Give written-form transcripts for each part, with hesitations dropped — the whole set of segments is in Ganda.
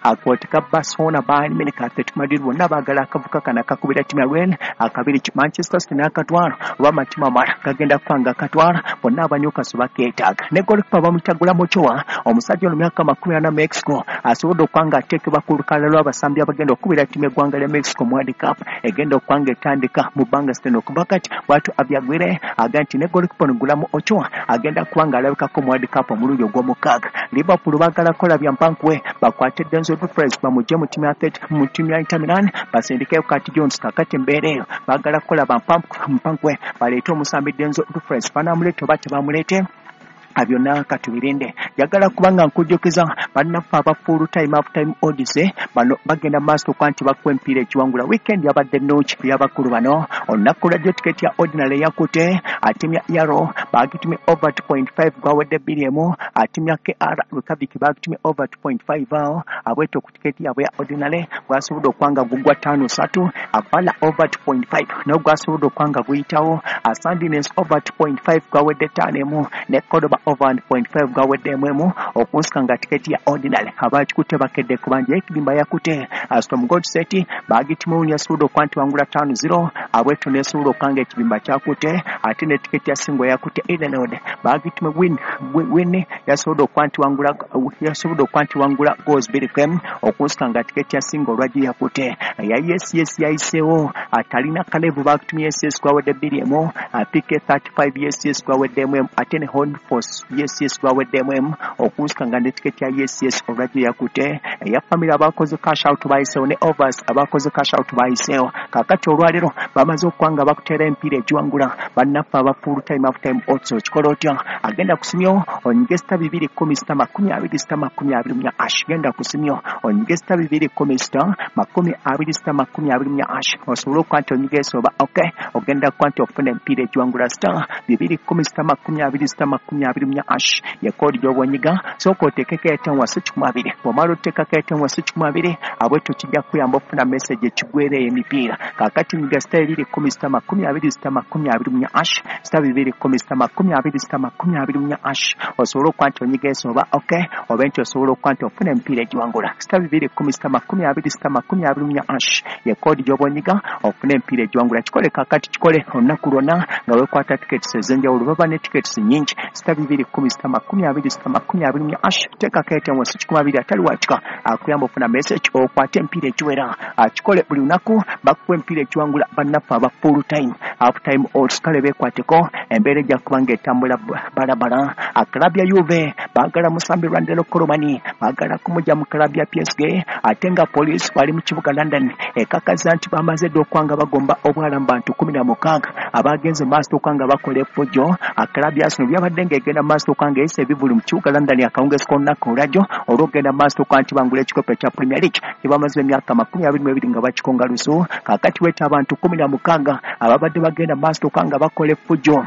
Akwoteka Barcelona, Bayern Munich, Atletico Madrid bonna baagala akavuka kano akakubira ttiimu ya Rennes akabiri. Manchester City n'akatwala oba amatiimu amalala gagenda kuba nga akatwala, bonna aba Newcastle bakeetaaga. Ne goalkeeper bamuyita Guillermo Ochoa, omusajja ono myaka 40 Mexico, asobodde okuba nga ateekebwa ku lukalala lw'abasambi abagenda okukubira ttiimu y'eggwanga lya Mexico mu World Cup egenda okuba nga etandika mu bbanga siteno okuva kati. Bw'atyo Abyagwire agamba nti ne goalkeeper ono Guillermo Ochoa agenda kuba nga alabikako mu World Cup omulundi ogw'omukaaga. Liverpool baagala kukola bya mpankuwe bakwate Denzel Dumfries bamugye mu ttiimu ya Atletico, mu ttiimu ya Inter Milan, basindikeyo Curtis Jones. Kakati embeera eyo baagala kukola bampankuwe baleete omusambi Denzel Dumfries, banaamuleeta oba tebamuleete, byonna katubirinde. Njagala kubanga nkujjukiza bannaffe aba full time half time odds, bano bagenda maaso okuba nti bakuwa emipiira ekiwangula. Weekend yabadde nnungi ey'abakulu bano. Olunaku lwajjo tiketi ya ordinary yakute atimya yaro bagitumye over 2.5, gwawedde 2-1. Atimya KR Reykjavik bagitumye over 2.5 awo abwetyo ku tiketi yaabwe ya ordinary gwasobodde okuba nga gugwa 5-3. Avala over 2.5 naye gwasobodde okuba nga guyitawo. Sandnes over 2.5 gwawedde 5-1, ne Cordoba over 1.5 gwawedde 1-1. Okunsika nga tiketi ya ordinary abakikutte bakedde kubanja ekidimba yakute Storm Godset bagitimu yasobodde okuba nti wangula 5-0, abwetyo nesobola okuba nga ekibimba kyakute. Ate ne tiketi ya single yakute Edenod bagitume win win yasobodde okuba nti wangula, yasobodde okuba nti wangula goals 2-1. Okunsika nga tiketi ya single olwagi yakute ya yes yayiseewo atalina Kalevu bagitumye yes gwawedde 2-1. PK 35 yes gwawedde 1-1, ate ne Horn Force yes gwawedde 1-1. Okunsika nga ne tiketi ya yes olwagi yakute eya family abakoze cash out bayiseewo, ne overs abakoze cash out bayiseewo. Kakati olwaleero bamaze okuba nga bakuteera emipiira egiwangula bannaffe aba full time half time odds. Okikola otya? Agenda kusimyo onyige *210 *20 *24 hash. Genda kusimyo onyige *210 *20 *24 hash osobole okuba nti onyiga esoba ok, ogenda kuba nti okufuna emipiira egiwangula. *210 *20 *24 hash ye koodi gy'oba onyiga. Sooka oteekeko airtime wansi 20. Bw'omala oteekako airtime wansi 20, abwetyo kijja kukuyamba okufuna message ekigwera emipiira. Kaakati nyiga *210 *20 *24 hash, *210 *20 *24 hash osobole okuba nti onyiga esoba ok, obe nti osobola okuba nti ofuna emipiira egiwangula. *210 *20 *24 hash ye koodi gy'oba onyiga ofuna emipiira egiwangula. Kikole kaakati, kikole olunaku lwonna nga weekwata tickets ez'enjawulo. Baba ne tickets nnyingi. *210 *20 *24 hash, teekako airtime wansi 20, atali wakika akuyamba ofuna message okwate emipiira egiwera. Akikole buli lunaku, bakuwa emipiira egiwangula bannaffe aba full time half time odds. Kale beekwateko, embeera ejja kuba ng'etambula balabala. Club ya Juve baagala musambi Randal Kolo Muani, baagala kumugya mu club ya PSG. Ate nga poliisi wali mu kibuga London ekakaza nti bamaze dda okuba nga bagomba obwala mu bantu 16 abagenze maaso okuba nga bakola effujjo. Club ya Arsenal byabadde ng'egenda maaso okuba nga eyisa ebivvulu mu kibuga London akawungeezi k'olunaku olwajjo olw'okugenda maaso okuba nti bangula ekikopo ekya Premier League kye bamaze emyaka 22 nga bakikonga lusu. Kaakati weeta abantu 16 ababadde bagenda maaso okuba nga bakola effujjo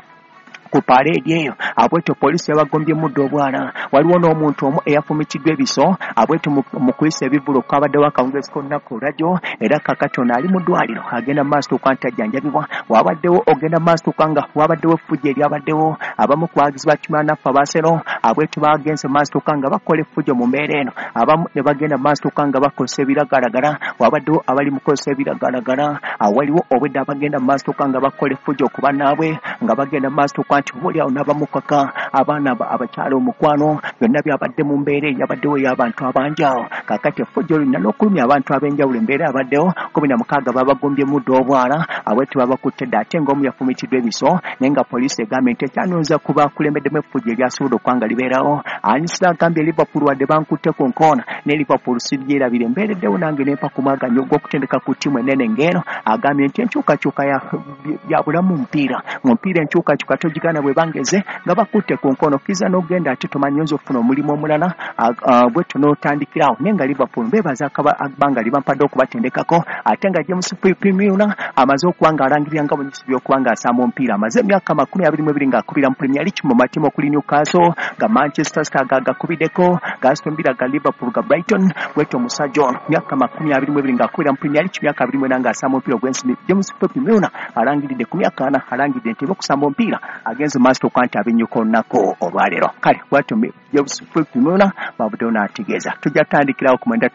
ku paleedi eyo, abwetyo poliisi yabagombye mudde obwala. Waliwo n'omuntu omu eyafumikiddwa ebiso abwetyo mu kuyisa ebivvulu okwabaddewo akawungeezi k'olunaku olwajjo, era kakati ono ali mu ddwaliro agenda maaso okuba nti ajjanjabibwa. Wabaddewo ogenda maaso okuba nga wabaddewo effujjo eryabaddewo, abamu ku bawagizi ba ttiimu naffe aba Arsenal abwetyo bagenze maaso okuba nga bakola effujjo mu mbeera eno, abamu ne bagenda maaso okuba nga bakozesa ebiragalagala. Wabaddewo abali mu kukozesa ebiragalagala, waliwo obwedda abagenda mu maaso okuba nga bakola effujjo ku bannaabwe, nga bagenda mu maaso okuba nti oba oliawo n'abamukaka abaana abakyala omukwano. Byonna byabadde mu mbeera eyabaddewo ey'abantu abangi awo. Kaakati effujjo lina n'okulumya abantu ab'enjawulo. Embeera yabaddewo, 16 babagombye mudde obwala, abwetyo babakutte dda, ate ng'omu yafumitiddwa ebiso, naye nga poliisi egambye nti ekyanooza ku bakulembeddemu effujjo eryasobodde okuba nga libeerawo. Anisira agambye Liverpool wadde bankutte ku nkoona ne Liverpool siryerabire, embeereddewo nange nempa ku mwaganyo ogw'okutendeka ku ttiimu ennene ng'eno. Agambye nti enkyukakyuka ya bulamu mupiira, mu mupiira enkyukakyuka togigaana, bwe bangeze nga bakutte ku nkono okkiriza n'ogenda, ate tomanyi oyinza okufuna omulimu omulala bwetyo n'otandikirawo. Naye nga Liverpool mbeebaza akabanga libampadde okubatendekako. Ate nga James Milner amaze okuba nga alangirira nga bwenyusi by'okuba nga asamba omupiira, amaze emyaka 22 ng'akubira mu Premier League mu matimu okuli Newcastle, ga Manchester City agagakubiddeko, ga Aston Villa, ga Liverpool, ga Brighton. Bwetyo omusajja ono myaka 22 ng'akubira mu Premier League, myaka 24 ng'asamba omupiira ogw'ensimbi, James Milner alangiridde ku myaka 40, alangiridde nti okusamba omupiira agenze maaso okuba nti abinyuka olunaku olwaleero. Kale bwatyo James Milner bavuddeyo n'ategeeza. Tujja tutandikirawo ku 9.